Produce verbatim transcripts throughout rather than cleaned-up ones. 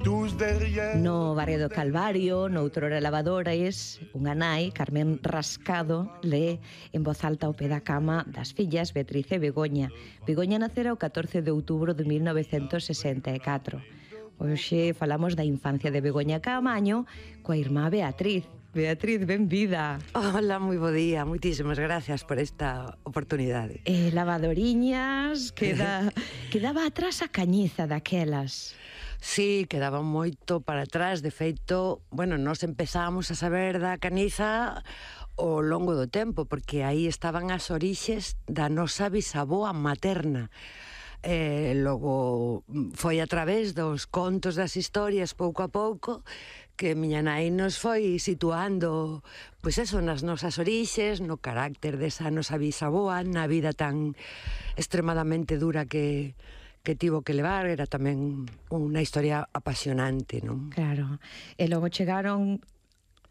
No barrio do Calvario, noutrora Lavadores, unha nai, Carmen Rascado, lee en voz alta ao pé da cama das fillas Beatriz e Begoña. Begoña nacera o catorce de outubro de mil novecentos sesenta e catro. Hoxe falamos da infancia de Begoña Caamaño coa irmá Beatriz. Beatriz, benvida. Hola, moi bo día, moitísimas gracias por esta oportunidade. E lavadoriñas, queda, quedaba atrás a cañiza daquelas. Sí, quedaba moito para atrás, de feito, bueno, nós empezamos a saber da caniza ao longo do tempo, porque aí estaban as orixes da nosa bisaboa materna. E logo foi a través dos contos das historias pouco a pouco que miña nai nos foi situando, pois eso, nas nosas orixes, no carácter desa nosa bisaboa, na vida tan extremadamente dura que que tivo que levar. Era tamén unha historia apasionante, non? Claro, e logo chegaron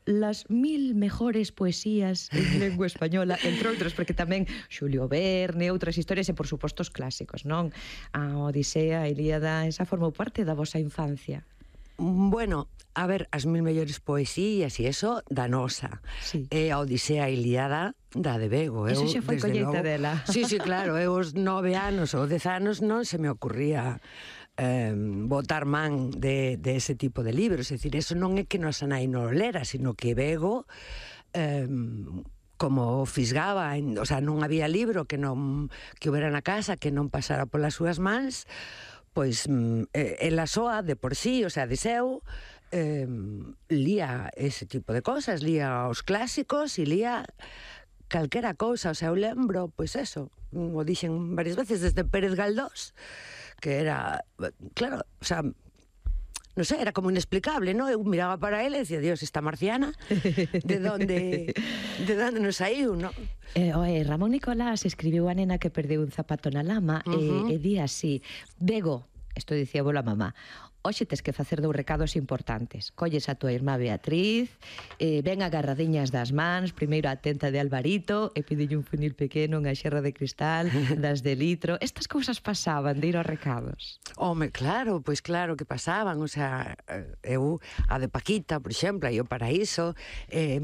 las mil mejores poesías en lengua española, entre outros, porque tamén Xulio Verne, outras historias e, por suposto, os clásicos, non? A Odisea, a Ilíada, esa formou parte da vosa infancia. Bueno, a ver, as mil mellores poesías e eso, da nosa. Sí. E a Odisea e a Ilíada, da de Bego. Eso eu, xa foi colleita dela. Sí, sí, claro, eu os nove anos ou dez anos non se me ocurría eh, botar man de, de ese tipo de libros. É dicir, eso non é que nosa nai non lera, sino que Bego... Eh, como fisgaba, en, o sea, non había libro que non que houbera na casa que non pasara polas súas mans, pois eh, ela soa de por sí, o sea, de seu, eh, lía ese tipo de cosas, lía os clásicos e lía calquera cousa. O sea, eu lembro, pois eso, o dixen varias veces, desde Pérez Galdós, que era, claro, o sea, non sei, era como inexplicable, non? Eu miraba para ele e dicía, Dios, esta marciana, de donde de donde nos saiu, non? Eh, oe, Ramón Nicolás escribiu A nena que perdeu un zapato na lama, uh-huh. e, e di así: Bego, isto dicía bola mamá, hoxe tes que facer dous recados importantes. Colles a tua irmá Beatriz, eh, ven agarradiñas das mans, primeiro a tenta de Alvarito, e pídelle un funil pequeno, unha xerra de cristal, das de litro. Estas cousas pasaban de ir aos recados. Home, claro, pois claro que pasaban. O sea, eu, a de Paquita, por exemplo, aí o Paraíso, eh,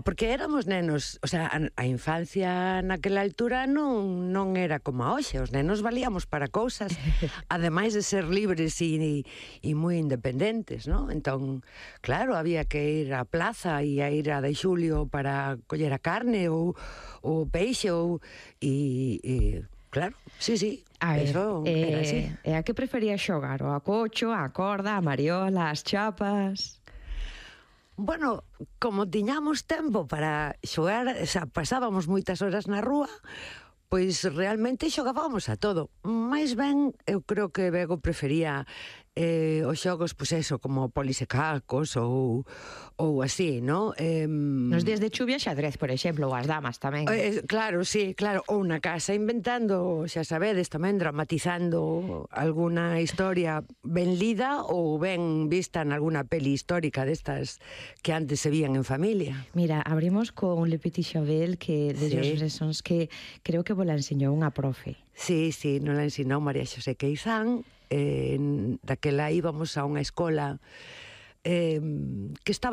porque éramos nenos, o sea, a, a infancia naquela altura non, non era como a hoxe. Os nenos valíamos para cousas, ademais de ser libres e, e moi independentes, non? Entón, claro, había que ir á plaza e a ir a de Xulio para coller a carne ou o peixe ou e, e claro, sí, sí. A ver, eso eh, era así. E a que prefería xogar? O a cocho, a corda, a mariola, as chapas? Bueno, como tiñamos tempo para xogar, o sea, pasábamos moitas horas na rúa, pois realmente xogábamos a todo. Mais ben, eu creo que Bego prefería eh, os xogos, pois eso, como polis e cacos ou, ou así, non? Eh, Nos días de chuvia, xadrez, por exemplo, ou as damas tamén. Eh, claro, sí, claro, ou na casa inventando, xa sabedes, tamén dramatizando alguna historia ben lida ou ben vista en alguna peli histórica destas que antes se vían en familia. Mira, abrimos con Le Petit Chavel, que de Sí. Georges Brassens, que creo que vos la enseñou unha profe. Sí, sí, non la ensinou María Xosé Queizán. Eh, daquela íbamos a unha escola eh, que estaba